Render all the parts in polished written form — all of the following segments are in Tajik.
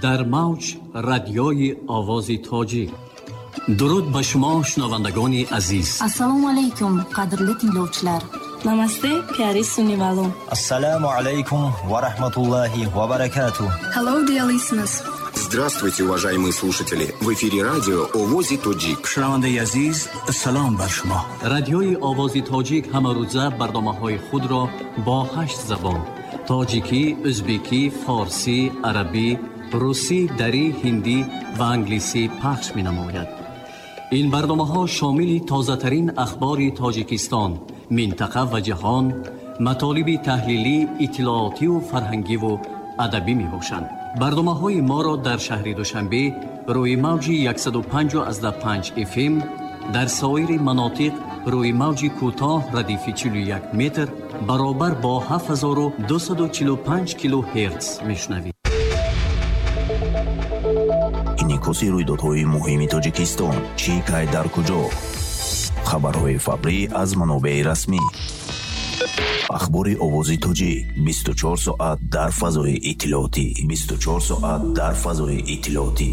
Дар мавҷ радиои Овози Тоҷик. Дуруд ба шумо, шунавандагони азиз. Assalomu alaykum, qadrli tinglovchilar. Намасте, пяри сунивало. Ассаламу алайкум ва рахматуллахи ва баракатуh. Hello, dear listeners. Здравствуйте, уважаемые слушатели! В эфире радио Овози Тоҷик. Шунавандаи азиз, салом бар шумо. Радиои Овози Тоҷик ҳамарӯза барномаҳои худро бо 8 забон: тоҷикӣ, ӯзбекӣ, форсӣ, арабӣ, русӣ, дарӣ, ҳиндӣ ва англисӣ пахш менамояд. Ин барномаҳо шомили тозатарин ахбори Тоҷикистон, минтақа ва ҷаҳон, матолиби таҳлилӣ, иттилоотиву фарҳангиву адабӣ мебошанд. Барномаҳои моро дар шаҳри Душанбе рӯи мавҷи 105,5 FM, дар соири манотиқ рӯи мавҷи кӯтоҳ радифи 41 метр баробар бо 7245 килогерц мешунавед. Инъикоси рӯйдодҳои муҳими Тоҷикистон, чӣ, кай, дар куҷо. Хабарҳои фаврӣ аз манобеи расмӣ. Ахбори Овози Тоҷик 24 соат дар фазои иттилоотӣ. 24 соат дар фазои иттилоотӣ.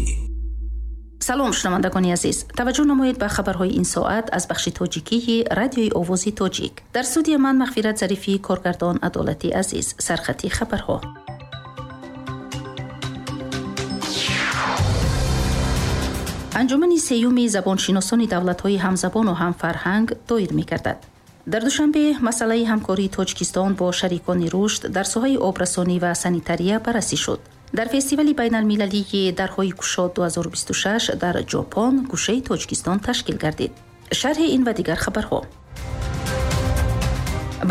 Салом, шунавандагони азиз. Таваҷҷӯҳ намоед ба хабарҳои ин соат аз бахши тоҷикии радиои Овози Тоҷик. Дар студия ман Мағфират Зарифӣ, коргардон Адолати Азиз. Сархати хабарҳо. Анҷумани сеюми забоншиносони давлатҳои ҳамзабону ҳамфарҳанг доир мегардад. Дар Душанбе масъалаи ҳамкории Тоҷикистон бо шарикони рушд дар соҳаи обрасонӣ ва санитария баррасӣ шуд. Дар фестивали байналмилалии дарҳои кушод 2026 дар Ҷопон гӯшаи Тоҷикистон ташкил гардид. Шарҳи ин ва дигар хабарҳо.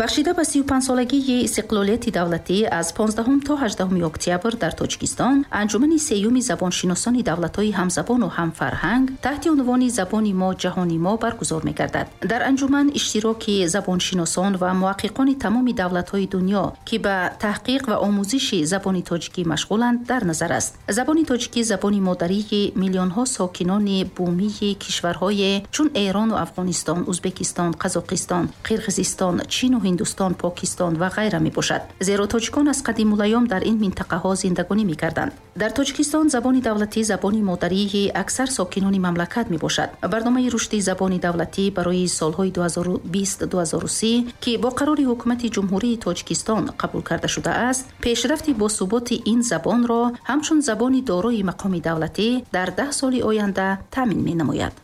Бахшида ба 35-солагии истиқлолияти давлатӣ аз 15 то 18 октябр дар Тоҷикистон анҷумани сеюми забоншиносони давлатҳои ҳамзабону ҳамфарҳанг таҳти унвони «Забони мо, ҷаҳони мо» баргузор мегардад. Дар анҷуман иштироки забоншиносон ва муҳаққиқони тамоми давлатҳои дунё, ки ба таҳқиқ ва омӯзиши забони тоҷикӣ машғуланд, дар назар аст. Забони тоҷикӣ забони модарии миллионҳо сокинони бумии кишварҳое чун Эрону Афғонистон, Ӯзбекистон, Қазоқистон, Қирғизистон, Чину Ҳиндустон, Покистон ва ғайра мебошад. Зеро тоҷикон аз қадимулайём дар ин минтақаҳо зиндагонӣ мекарданд. Дар Тоҷикистон забони давлатӣ забони модарии аксар сокинони мамлакат мебошад. Барномаи рушди забони давлатӣ барои солҳои 2020-2030, ки бо қарори ҳукумати Ҷумҳурии Тоҷикистон қабул карда шудааст, пешрафти босуботи ин забонро ҳамчун забони дорои мақоми давлатӣ дар 10 соли оянда таъмин менамояд.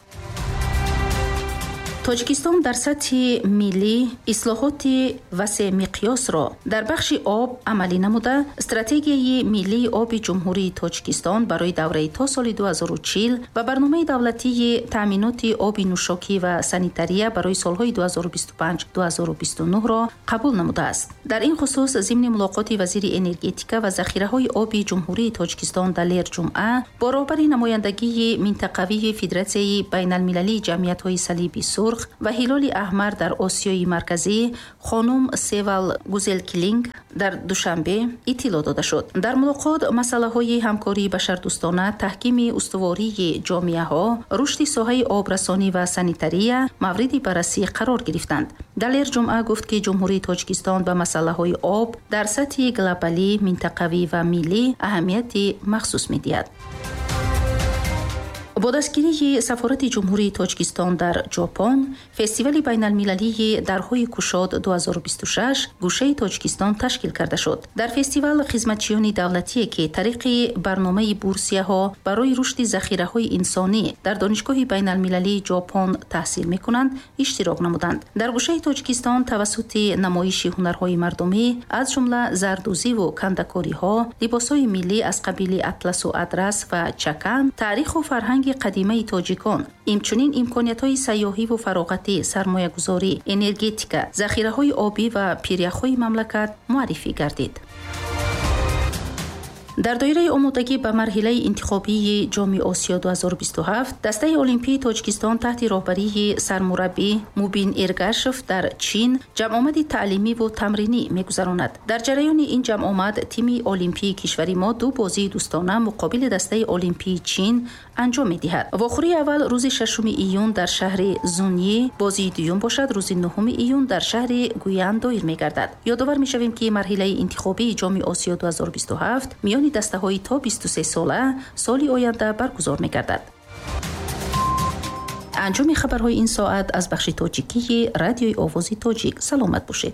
Тоҷикистон дар сатҳи миллӣ ислоҳоти васеъмиқёсро дар бахши об амалӣ намуда, стратегияи миллии оби Ҷумҳурии Тоҷикистон барои давраи то соли 2040 ва барномаи давлатии таъминоти оби нӯшокӣ ва санитария барои солҳои 2025-2029-ро қабул намудааст. Дар ин хусус зимни мулоқоти вазири энергетика ва захираҳои оби Ҷумҳурии Тоҷикистон Далер Ҷумъа бо роҳбари намояндагии минтақавии Федератсияи байналмилалии ҷамъиятҳои Салиби Сурх ва Ҳилоли Аҳмар дар Осиёи Марказӣ хонум Севал Гузелкилинг дар Душанбе иттилоъ дода шуд. Дар мулоқот масъалаҳои ҳамкории башардӯстона, таҳкими устувории ҷомеаҳо, рушди соҳаи обрасонӣ ва санитария мавриди баррасӣ қарор гирифтанд. Далер Ҷумъа гуфт, ки Ҷумҳурии Тоҷикистон ба масъалаҳои об дар сатҳи глобалӣ, минтақавӣ ва миллӣ аҳамияти махсус медиҳад. Бо дастгирии сафорати Ҷумҳурии Тоҷикистон дар Ҷопон фестивали байналмилалии дарҳои кушод 2026 гӯшаи Тоҷикистон ташкил карда шуд. Дар фестивал хизматчиёни давлатие, ки тариқи барномаи бурсияҳо барои рушди захираҳои инсонӣ дар Донишгоҳи байналмилалии Ҷопон таҳсил мекунанд, иштирок намуданд. Дар гӯшаи Тоҷикистон тавассути намоиши ҳунарҳои мардумӣ, аз ҷумла зардӯзиву кандакориҳо, либосҳои миллӣ аз қабили атласу адрас ва чакан, таъриху фарҳанги қадимаи тоҷикон, инчунин имкониятҳои сайёҳиву фароғатӣ, сармоягузорӣ, энергетика, захираҳои обӣ ва пиряхҳои мамлакат муаррифӣ гардид. Дар доираи омодагӣ ба марҳилаи интихобии Ҷоми Осиё 2027 дастаи Олимпии Тоҷикистон таҳти роҳбарии сармураббӣ Мубин Эргашев дар Чин ҷамъомади таълимиву тамринӣ мегузаронад. Дар ҷараёни ин ҷамъомад тими олимпии кишвари мо ду бозии дӯстона муқобили дастаи олимпии Чин анҷом медиҳад. Вохӯрии аввал рӯзи 6 июн дар шаҳри Зуньи, бозии дуюм бошад рӯзи 9 июн дар шаҳри Гуян доир мегардад. Ёдовар мешавем, ки марҳилаи интихобии Ҷоми Осиё 2027 миёни Миёни дастаҳои то 23 сола соли оянда баргузор мегардад. Анҷоми хабарҳои ин соат аз бахши тоҷикии Радиои Овози Тоҷик. Саломат бошед.